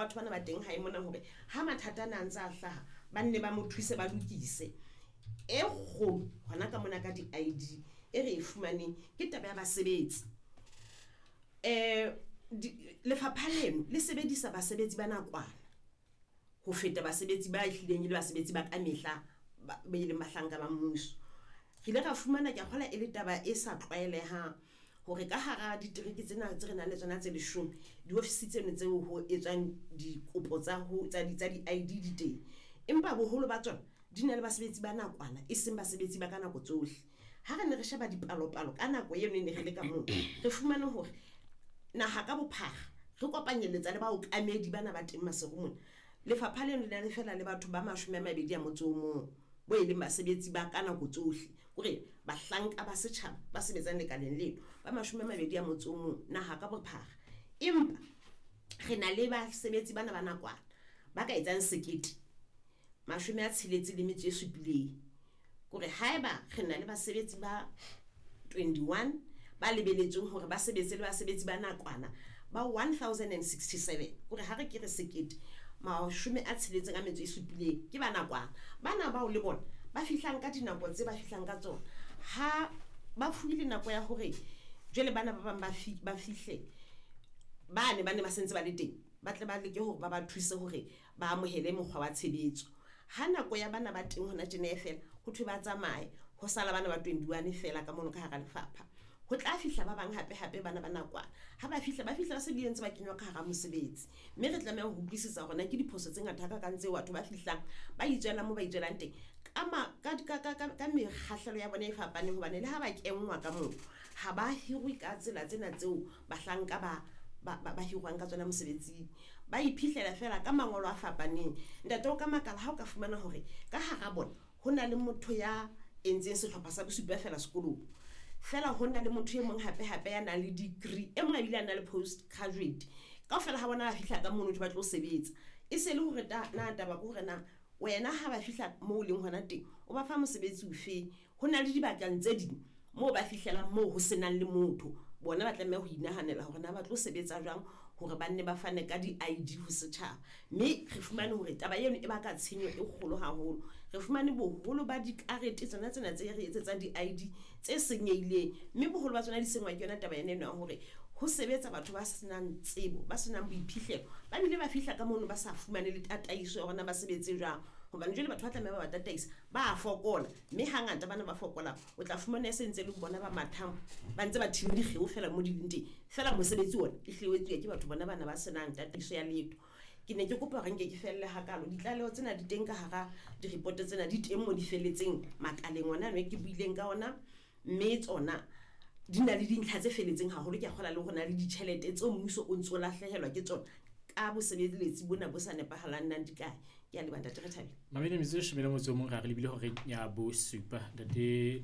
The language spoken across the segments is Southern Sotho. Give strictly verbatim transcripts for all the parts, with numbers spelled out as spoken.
batho bana ba teng hae mona hore ha mathata ana a ntse a hlaha, ba nne ba mo thuse, ba lokise. E kgolo hona ka mona ka di-I D e re e fumaneng ke taba ya basebetsi. Eh, lefapha leno le sebedisa basebetsi ba nakwana ho feta basebetsi ba ehlileng e le basebetsi ba kamehla ba e leng bahlanka ba mmuso. Re ile ra fumana, ke a kgolwa e le taba e sa tlwaelehang hore ka hara ditereke tsena tse re nang le tsona tse leshome, diofisi tseno tseo ho etswang dikopo tsa ho tsa di tsa di-I D di teng, empa boholo ba tsona di na le basebetsi ba nakwana, e seng basebetsi ba ka nako tsohle. Ha re ne re sheba dipalopalo ka nako eno e ne re le ka moo, re fumane hore naha ka bophara re kopanyelletsa le baokamedi bana ba teng Maseru mona, lefapha leno le na le fela le batho ba mashome a mabedi a motso o mong bo e leng basebetsi ba ka nako tsohle, hore bahlanka ba setjhaba ba sebetsang lekaleng leno ba mashome a mabedi a motso o mong naha ka bophara. Empa re na le basebetsi bana ba nakwana ba ka etsang sekete mashome a tsheletse le metso e supileng. Kore haeba re na le basebetsi ba twenty-one ba lebelletsweng hore ba sebetse le basebetsi ba nakwana ba one thousand and sixty-seven, kore ha re ke re sekete mashome a tsheletseng a metso e supileng ke ba nakwana. Bana bao le bona ba fihlang ka dinako tse ba fihlang ka tsona, ha ba fuwe nako ya hore jwale bana ba bang ba fi ba fihle bane ba ne ba sentse ba le teng, ba tle ba leke hore ba ba thuse hore ba amohele mokgwa wa tshebetso. Ha nako ya bana ba teng hona tjena e fela, ho thwe ba tsamaye, ho sala bana ba twenty-one fela ka mono ka hara lefapha. Ho tla fihla ba bang hape hape bana ba nakwana. Ha ba fihla, ba fihla ba se bile ntse ba kenywa ka hara mosebetsi. Mme re tlameha ho utlwisisa hore na ke diphoso tse ngata hakakang tseo batho ba fihlang ba itswelang moo ba itswelang teng ka ma, ka ka ka ka mekgahlelo ya bona e fapaneng, hobane le ha ba kenngwa ka moo ha ba hirwe ka tsela tsena tseo bahlanka ba ba ba hirwang ka tsona mosebetsing. Ba iphihlela fela ka mangolo a fapaneng. Ntate, o ka makala ha o ka fumana hore ka hara bona ho na le motho ya entseng sehlopha sa bosupa fela sekolong, fela ho na le motho e mong hape hape ya nang le degree, e mong a bile a na le post graduate. Kaofela ha bona ba fihla ka mono ba tlo sebetsa. E se le hore ta, na taba ke hore na wena ha ba fihla moo leng hona teng o ba fa mosebetsi ofe. Ho na le dibakeng tse ding moo ba fihlelang moo ho senang le motho, bona ba tlameha ho inahanela hore na ba tlo sebetsa jwang hore ba nne ba fane ka di-I D ho setjhaba. Mme re fumane hore taba eno e baka tshenyo e kgolo haholo. Re fumane boholo ba dikarete tsona tsena tse re etsetsang di-I D tse senyehileng, mme boholo ba tsona di senngwa ke yona taba ena eno ya hore ho sebetsa batho ba senang tsebo, ba senang boiphihlelo, ba bile ba fihla ka mono ba sa fumane le tataiso ya hore na ba sebetse jwang. Hobane jwale batho ba tlameha ba ba tataisa ba a fokola, mme hangata bana ba fokolang o tla fumana e sentse le bona ba mathang ba ntse ba thiba dikgeo fela mo di leng teng, fela mosebetsi ona e hlile o etsuwa ke batho bona bana ba senang tataiso ya letho. Ke ne ke kopa hore nke ke felle hakalo. Ditlaleho tsena di teng ka hara di-report tsena, di teng mo di felletseng makaleng ona ano e ke buileng ka ona, mme tsona di na le dintlha tse felletseng haholo. Ke a kgolwa le hore na le ditjhelete tseo mmuso o ntso lahlehelwa ke tsona ka bosebeletsi bona bo sa nepahalang nang di kae. Ke a leboha, ntate Rethabile. Mamedi metsotso e leshome le motso o mong ra re lebile horeng ya bosupa. Ntate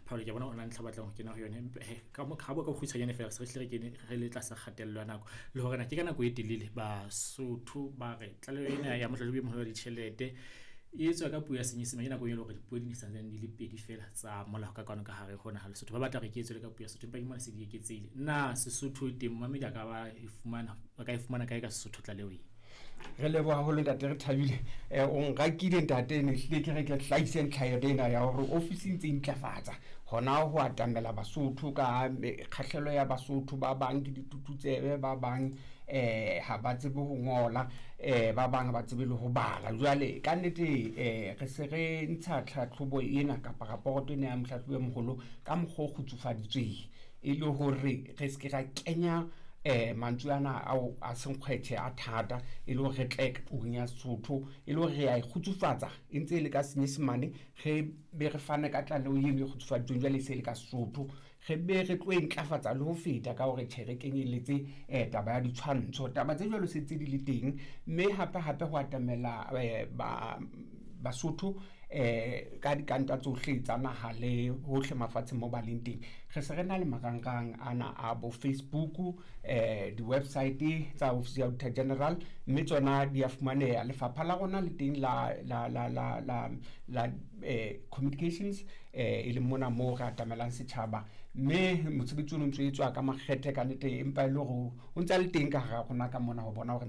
Paul, ke bona o na ntlha batlang ho kena ho yona, empa he ka mo ka bo ka kgutshwanyane fela se re hle re kene re le tlasa kgatello ya nako, le hore na ke ka nako e telele Basotho ba re tlaleho ena ya mohlahlobi e moholo wa ditjhelete e etswa ka puo ya Senyesemane. Ke nako e leng hore dipuo di ne santsane di le pedi fela tsa molao ka kwano ka hare ho naha Lesotho. Ba batla hore ke etswe le ka puo ya Sesotho, empa ke mona se di eketsehile. Na Sesotho teng momamedi a ka ba e fumana, a ka e fumana kae ka Sesotho tlaleho e? Re leboha haholo ntate Rethabile. Eh, o nrakile ntate, ne hlile ke re ke hlahise ntlha ena ya hore ofisi e ntse e ntlafatsa hona ho atamela Basotho ka kgahlelo ya Basotho. Ba bang ke ditututsebe, ba bang eh ha ba tsebe ho ngola, eh ba bang ha ba tsebe le ho bala. Jwale ka nnete eh re se re ntsha tlhatlhobo ena kapa raporoto ena ya mohlahlobi e moholo ka mokgwa o kgutsufaditsweng, e le hore re se ke ra kenya eh mantswe ana ao a senkgwethe a thata, e le hore re tle puong ya Sesotho, e le hore re a e kgutsufatsa e ntse e le ka Senyesemane, re be re fane ka tlaleho eno e kgutsufaditsweng jwale e se e le ka Sesotho, re be re tlo e ntlafatsa le ho feta ka hore tjhe re kenyelletse eh taba ya ditshwantsho. Taba tse jwalo se ntse di le teng, mme hape hape ho atamela eh ba Basotho eh ka dikanta tsohle tsa naha le hohle mafatsheng mo ba leng teng. Re se re na le marangrang ana a bo Facebook, eh di-website tsa Office ya Auditor General, mme tsona di a fumaneha. Lefapha la rona le teng la, la, la, la, la, la, eh, communications, eh, e leng mona moo re atamelang setjhaba, mme mosebetsi ono ntso etswa ka makgethe ka nnete, empa e le hore o ntsa le teng ka hara rona ka mona ho bona hore